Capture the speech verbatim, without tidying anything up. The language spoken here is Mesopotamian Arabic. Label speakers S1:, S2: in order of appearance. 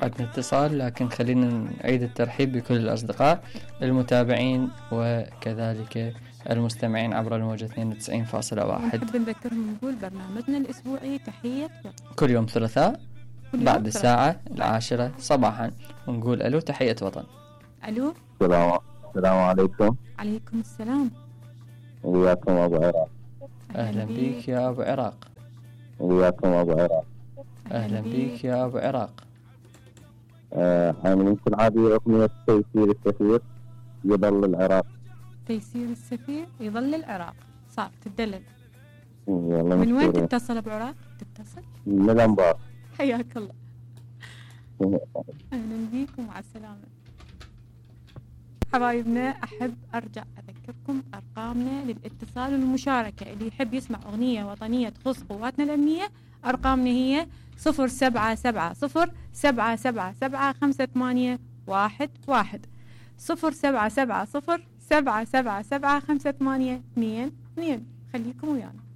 S1: عندنا اتصال، لكن خلينا نعيد الترحيب بكل الأصدقاء المتابعين وكذلك المستمعين عبر الموجة اثنين وتسعين فاصلة واحد.
S2: نحب نذكرهم نقول برنامجنا الأسبوعي تحية
S1: كل يوم ثلاثاء بعد الساعة العاشرة صباحا، ونقول ألو تحية وطن.
S2: ألو
S3: السلام السلام عليكم.
S2: عليكم السلام.
S3: وياكم أبو عراق.
S1: أهلا بيك يا أبو عراق.
S3: وياكم أبو عراق.
S1: أهلا بيك يا أبو عراق.
S3: حاملين كالعادة أغنية تيسير السفير يظل العراق.
S2: تيسير السفير يظل العراق. صعب تدلل.
S3: من
S2: وين تتصل أبو عراق؟ تتصل؟
S3: من الأنبار.
S2: حياك الله. أهلا بيك ومع السلامة. حبايبنا، أحب أرجع أذكركم أرقامنا للاتصال والمشاركة. اللي يحب يسمع أغنية وطنية تخص قواتنا الأمنية، أرقامنا هي صفر سبعة سبعة صفر سبعة سبعة سبعة خمسة ثمانية واحد واحد، صفر سبعة سبعة صفر سبعة سبعة سبعة خمسة ثمانية اثنين اثنين. خليكم ويانا.